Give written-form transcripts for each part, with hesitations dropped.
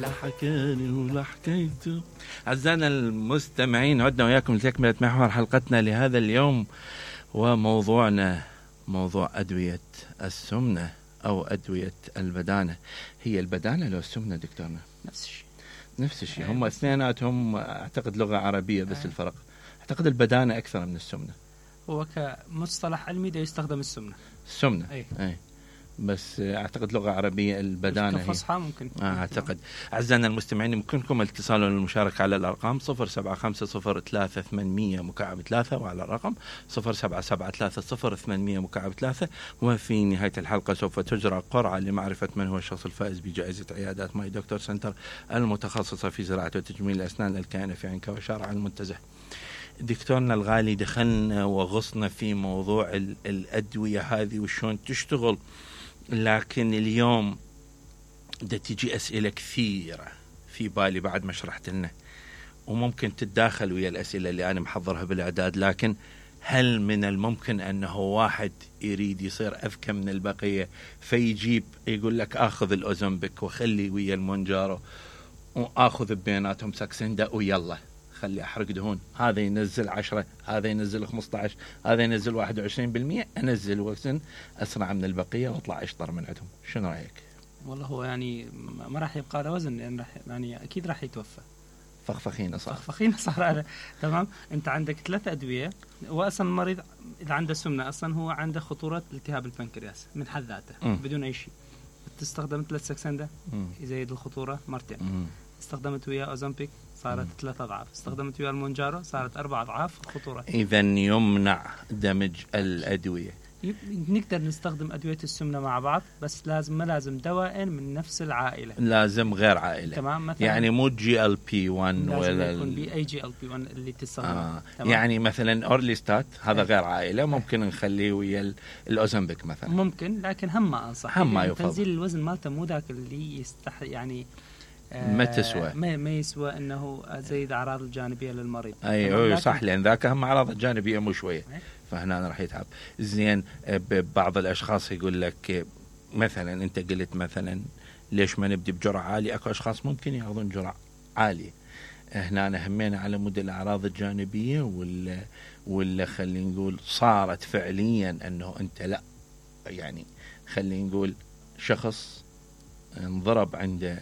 لا حكاني ولا حكيته. أعزائنا المستمعين، عدنا وياكم لتكملة محور حلقتنا لهذا اليوم، وموضوعنا موضوع أدوية السمنة أو أدوية البدانة. هي البدانة لو السمنة دكتورنا؟ نفس الشيء. هم اثنيناتهم أعتقد لغة عربية، بس الفرق أعتقد البدانة أكثر من السمنة. هو كمصطلح علمي ده يستخدم السمنة. أي. بس أعتقد لغة عربية البدانة كفصحى ممكن. أعتقد. أعزائنا المستمعين، يمكنكم الاتصال والمشاركة على الأرقام 07503800 وعلى الرقم 0773000800. وفي نهاية الحلقة سوف تجرى قرعة لمعرفة من هو الشخص الفائز بجائزة عيادات ماي دكتور سنتر المتخصصة في زراعة وتجميل الأسنان الكائنة في عنكا وشارع المنتزه. دكتورنا الغالي، دخلنا وغصنا في موضوع الأدوية هذه وشون تشتغل، لكن اليوم دا تجي أسئلة كثيرة في بالي بعد ما شرحت لنا، وممكن تتداخل ويا الأسئلة اللي أنا محضرها بالإعداد. لكن هل من الممكن أنه واحد يريد يصير أذكى من البقية فيجيب يقول لك آخذ الأوزمبيك وخلي ويا المونجارو وآخذ بيناتهم ساكسندا ويلا خلي أحرق دهون، هذا ينزل 10، هذا ينزل 15، هذا ينزل 21%، أنزل وزن أسرع من البقية وأطلع أشطر من عندهم؟ شنو رأيك؟ والله هو يعني ما راح يبقى له وزن، يعني أكيد راح يتوفى. فخفخينة صار هذا تمام. أنت عندك 3 أدوية، وأصلا المريض إذا عنده سمنة أصلا هو عنده خطورة التهاب البنكرياس من حد ذاته بدون أي شيء. تستخدم 3 ساكسندا يزيد الخطورة مرتين. استخدمت وياه أوزمبيك صارت 3 أضعاف، استخدمت وياه المونجارو صارت 4 أضعاف الخطورة. إذا يمنع دمج الأدوية. نقدر نستخدم أدوية السمنة مع بعض، بس ما لازم دواء من نفس العائلة، لازم غير عائلة. تمام. مثلا يعني مو GLP-1 ولا يكون بأي GLP-1 اللي تستخدمه. يعني مثلا أورليستات هذا غير عائلة، ممكن نخليه ويا الأوزمبيك مثلا، ممكن، لكن هم ما أنصح. هم ما يفضل. تنزيل الوزن مالته مو ذاك اللي يعني ما تسوى، ما يسوى انه زيد اعراض الجانبيه للمريض. ايوه صح، لان ذاك هم اعراض الجانبيه مو شويه، فهنا راح يتعب. زين، بعض الاشخاص يقول لك مثلا انت قلت مثلا ليش ما نبدي بجرعه عاليه؟ اكو اشخاص ممكن ياخذون جرعه عاليه. هنا همينا على مود الاعراض الجانبيه ولا خلينا نقول صارت فعليا انه انت لا، يعني خلينا نقول شخص انضرب عند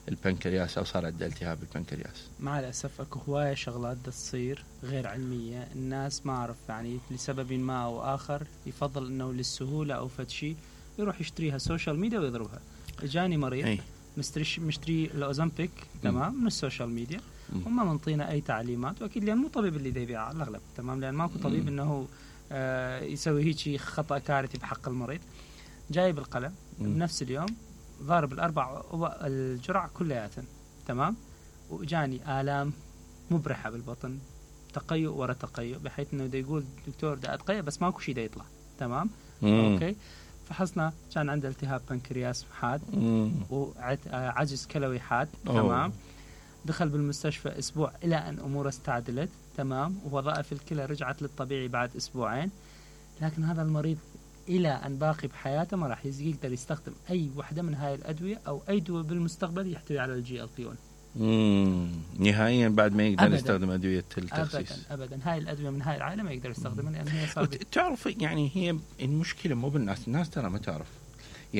البنكرياس أو صار عنده التهاب البنكرياس. مع الأسف أكو هواية شغلات تصير غير علمية، الناس ما أعرف يعني لسبب ما أو آخر يفضل أنه للسهولة أو فتشي يروح يشتريها سوشيال ميديا ويضربها. جاني مريض مشتري الأوزمبيك تمام من السوشيال ميديا، وما منطينا أي تعليمات، وأكيد لأن مو طبيب اللي دي يبيع على الأغلب، تمام، لأن ماكو طبيب أنه يسوي هيك خطأ كارثي بحق المريض. جايب القلم بنفس اليوم ضارب 4 الجرعة كلياتن، تمام، وجاني آلام مبرحة بالبطن، تقيؤ ورا تقيؤ، بحيث انه دا يقول دكتور دا اتقيأ بس ماكو شيء دا يطلع، تمام. اوكي، فحصنا كان عنده التهاب بنكرياس حاد وعجز كلوي حاد، تمام. دخل بالمستشفى اسبوع الى ان اموره استعدلت، تمام، ووظائف الكلى رجعت للطبيعي بعد 2 أسبوع. لكن هذا المريض إلى أن باقي بحياته ما راح يقدر يستخدم أي وحدة من هاي الأدوية أو أي دواء بالمستقبل يحتوي على GLP-1 نهائيا. بعد ما يقدر يستخدم أدوية التخسيس أبدا. هاي الأدوية من هاي العائلة ما يقدر يستخدمها، لأن هي تعرف يعني هي المشكلة مو بالناس، الناس ترى ما تعرف.